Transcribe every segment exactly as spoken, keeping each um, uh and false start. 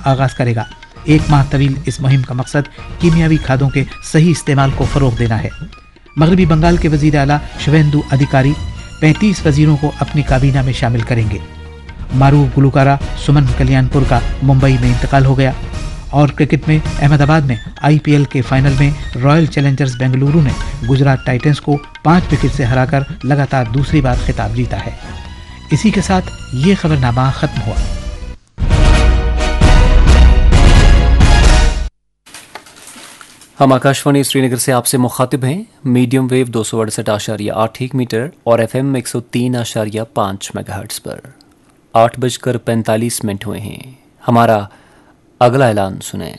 आगाज करेगा। एक माह तवील इस मुहिम का मकसद कीमियावी खादों के सही इस्तेमाल को फरोग देना है। मगरबी बंगाल के वजीर आला शुवेंदु अधिकारी पैंतीस वजीरों को अपनी काबीना में शामिल करेंगे। मारूफ गुलकारा सुमन कल्याणपुर का मुंबई में इंतकाल हो गया। और क्रिकेट में अहमदाबाद में आईपीएल के फाइनल में रॉयल चैलेंजर्स बेंगलुरु ने गुजरात टाइटंस को पाँच विकेट से हराकर लगातार दूसरी बार खिताब जीता है। इसी के साथ ये खबरनामा खत्म हुआ। हम आकाशवाणी श्रीनगर से आपसे मुखातिब हैं। मीडियम वेव दो सौ अड़सठ आशारिया आठ एक मीटर और एफएम एक सौ तीन आशारिया पाँच मेगाहर्ट्ज पर। आठ बजकर पैंतालीस मिनट हुए हैं। हमारा अगला ऐलान सुने।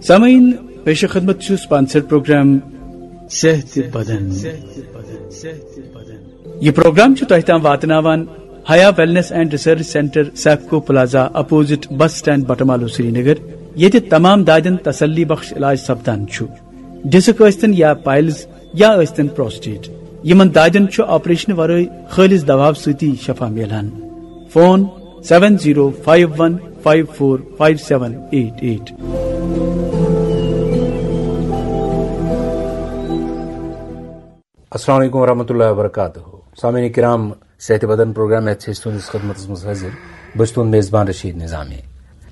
سامعین، پیش خدمت چھُ سپانسر پروگرام صحت بدن۔ یہ پروگرام چھُ تۄہہِ تام واتناوان Haya wellness and research centre, Sifco plaza, opposite bus stand, Batmaloo, Srinagar, ییٚتہِ تمام دادٮ۪ن تسلی بخش علاج سپدان چھُ۔ ڈسک ٲسۍتن یا پائلز یا ٲسۍتن پروسٹیٹ، یِمن دادٮ۪ن چھُ آپریشن ورٲے خٲلص دوا سۭتی شفا میلان۔ Phone seven zero five one five four five seven eight eight۔ السلام علیکم ورحمۃ اللہ وبرکاتہ۔ سامعین کرام، صحت بدن پروگرام ہیتھ چھِ أسۍ تُہنٛدِس خدمتس منٛز حٲضِر۔ بہٕ چھُس تُہُنٛد میزبان رشید نظامی۔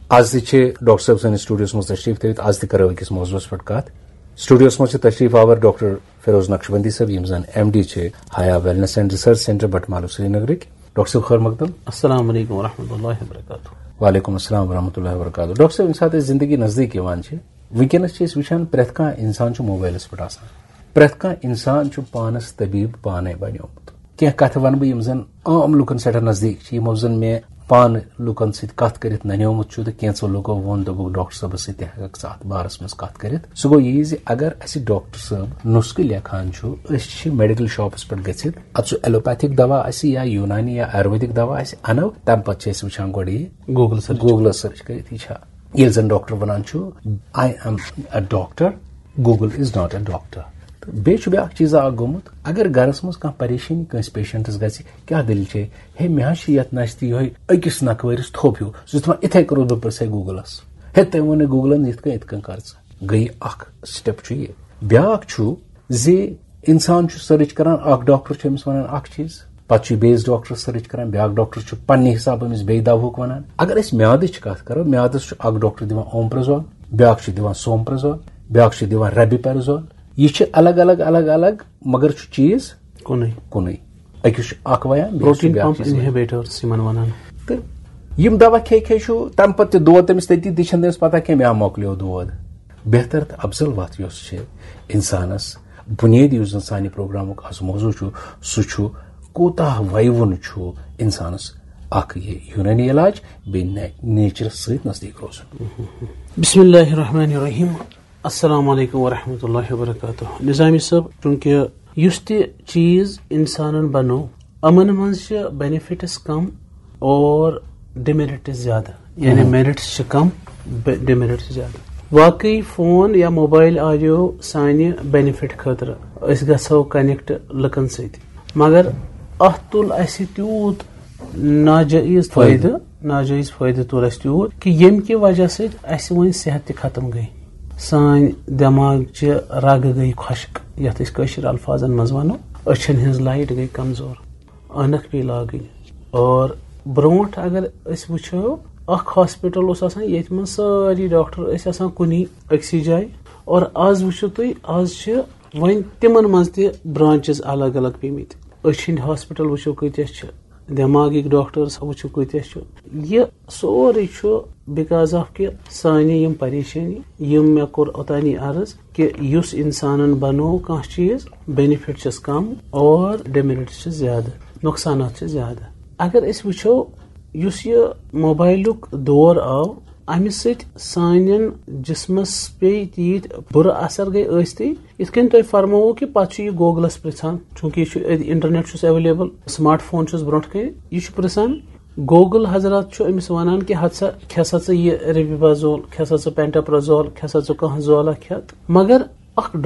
آز تہِ چھِ ڈاکٹر صٲب سٲنِس سٹوڈیوس منٛز تشریف تھٲوِتھ۔ آز تہِ کرو أکِس موضوعس پٮ۪ٹھ کتھ۔ سٹوڈیوس منٛز چھِ تشریف آور ڈاکٹر فیروز نقشبندی صٲب، یِم زن ایم ڈی چھِ Haya wellness and research centre Batamaloo سرینگرٕکۍ۔ ڈاکٹر صٲب، خیر مقدم۔ السلام علیکم ورحمۃ اللہ وبرکاتہ۔ وعلیکم السلام ورحمۃ اللہ وبرکاتہ۔ ڈاکٹر صٲب، ییٚمہِ ساتہٕ أسۍ زندگی نزدیٖک یِوان چھِ، وٕنکیٚنس چھِ أسۍ وٕچھان پرٛٮ۪تھ کانٛہہ انسان چھُ موبایلس پٮ۪ٹھ آسان۔ پرٛٮ۪تھ کانٛہہ انسان چھُ پانس طبیب پانے بنیومُت۔ کینٛہہ کتھٕ ونہٕ بہٕ، یِم زن عام لُکن سٮ۪ٹھاہ نزدیٖک چھِ، یِمو زن مےٚ پانہٕ لُکن سۭتۍ کتھ کٔرِتھ ننیومُت چھُ، تہٕ کینٛژو لُکو ووٚن، دوٚپُکھ، "ڈاکٹر صٲبس سۭتۍ تہِ ہٮ۪ککھ ژٕ اتھ بارس منٛز کتھ کٔرِتھ۔" سُہ گوٚو یی زِ اگر اسہِ ڈاکٹر صٲب نُسخہٕ لیکھان چھُ، أسۍ چھِ میڈیکل شاپس پٮ۪ٹھ گٔژھِتھ، اتھ چھُ ایلوپیتھک دوا آسہِ یا یونانی یا آیُرویدک دوا آسہِ، انو، تمہِ پتہٕ چھِ أسۍ وٕچھان گۄڈٕ یہِ Google search۔ Google سرچ کٔرِتھ، یہِ چھا۔ ییٚلہِ زن ڈاکٹر ونان چھُ، "I am a doctor, Google is not a doctor۔" تہٕ بیٚیہِ چھُ بیٛاکھ چیٖزا اکھ گوٚمُت، اگر گرس منٛز کانٛہہ پریشٲنی کٲنٛسہِ پیشنٹس گژھِ، کیٛاہ دٔلیٖل چھے؟ ہے، مےٚ حظ چھِ یتھ نشہِ تہِ یِہوٚے أکِس نکھٕ ؤرِس تھوٚپ ہیوٗ، سُہ چھُ دپان، "یِتھَے کٔنۍ روٗد بہٕ پرٛژھے گوٗگلس۔" ہے، تٔمۍ ووٚن نہٕ گوٗگلن یِتھ کٔنۍ، یِتھ کٔنۍ کر ژٕ۔ گٔیہِ اکھ سٹیپ چھُ یہِ۔ بیٛاکھ چھُ زِ انسان چھُ سرچ کران، اکھ ڈاکٹر چھُ أمِس ونان اکھ چیٖز، پتہٕ چھُ بیٚیِس ڈاکٹرس سرچ کران، بیٛاکھ ڈاکٹر چھُ پننہِ حسابہٕ أمِس بیٚیہِ دوہُک ونان۔ اگر أسۍ میادٕچ کتھ کرو، میادس چھُ اکھ ڈاکٹر دِوان اومپرزول، بیٛاکھ چھُ دِوان سومپرزول، بیٛاکھ چھُ دِوان ریبیپرزول۔ یہِ چھِ الگ الگ، الگ الگ، مگر چھُ چیٖز کُنُے۔ کُنُے۔ أکِس چھُ اکھ ویان، بیٚیِس چھُ پروٹین بیٛاکھ پمپ چیٖز ویان۔ انہیبیٹرس یِمن ونان۔ تہٕ یِم دوا کھے کھے چھُ، تمہِ پتہٕ تہِ دود تٔمِس تٔتی، تہِ چھَنہٕ تٔمِس پتہ کینٛہہ، مےٚ ہا مۄکلیو دود۔ بہتر تہٕ افضل وتھ یۄس چھِ انسانس، بُنیٲدی یُس زن سانہِ پروگرامُک از موضوع چھُ، سُہ چھُ کوٗتاہ ویوُن چھُ انسانس اکھ یہِ یوٗنٲنی علاج، بیٚیہِ نے-، نیچرس سۭتۍ نزدیٖک روزُن۔ بسم اللہ الرحمن الرحیم۔ السلام علیکم ورحمۃ اللہ وبرکاتہ۔ نظامی صٲب، چونکہ یُس تہِ چیٖز انسانن بنوو، یِمن منٛز چھِ بینیفٹس کم اور ڈیمیرٹس زیادٕ، یعنی میرٹس چھِ کم، ڈیمیرٹس چھِ زیادٕ۔ واقعی فون یا موبایل آیو سانہِ بینیفٹ خٲطرٕ، أسۍ گژھو کنیکٹ لُکن سۭتۍ، مگر اتھ تُل اسہِ تیوٗت ناجٲیز فٲیدٕ۔ فٲیدٕ، ناجٲیز فٲیدٕ تُل اسہِ تیوٗت کہِ ییٚمہِ کہِ وجہ سۭتۍ اسہِ وۄنۍ صحت تہِ ختم گٔے۔ سٲنۍ دٮ۪ماغ چہِ رگہٕ گٔے خۄشک، یتھ أسۍ کٲشِر الفاظن منٛز ونو، أچھن ہٕنٛز لایٹ گٔے کمزور، عٲنکھ پیٚیہِ لاگٕنۍ۔ اور برونٛٹھ اگر أسۍ وٕچھو، اکھ ہاسپٹل اوس آسان، ییٚتہِ منٛز سٲری ڈاکٹر ٲسۍ آسان کُنی أکسٕے جایہِ۔ اور از وٕچھِو تُہۍ، از چھِ وۄنۍ تِمن منٛز تہِ برانچز الگ الگ پیٚمٕتۍ۔ أچھ ہٕنٛدۍ ہاسپٹل وٕچھِو کۭتیاہ چھِ، دٮ۪ماغٕکۍ ڈاکٹرس وٕچھِو کۭتیاہ چھِ۔ یہِ سورُے چھُ because of کہِ سانہِ یِم پریشٲنی، یِم مےٚ کوٚر اوٚتانی عرض کہِ یُس انسانن بنوو کانٛہہ چیٖز، بینیفٹ چھِس کم اور ڈیمیرٹس چھِ زیادٕ، نۄقصانات چھِ زیادٕ۔ اگر أسۍ وٕچھو، یُس یہِ موبایلُک دور آو، امہِ سۭتۍ سانٮ۪ن جسمس پیٚیہِ تیٖتۍ بُرٕ اثر گٔے ٲستی۔ یِتھ کٔنۍ تۄہہِ فرمووُ کہِ پتہٕ چھُ یہِ گوگلس پرژھان، چوٗنٛکہِ یہِ چھُ أتھۍ، انٹرنیٹ چھُس ایویلیبل، سمارٹ فون چھُس برونٛٹھ کنہِ، یہِ چھُ پرژھان۔ گوگل حضرات چھُ أمِس ونان کہِ ہتہٕ سا کھےٚ سا ژٕ یہِ ریبیبازول، کھےٚ سا ژٕ پینٹاپرازول، کھےٚ سا ژٕ کانٛہہ زولہ کھٮ۪تھ۔ مگر اکھ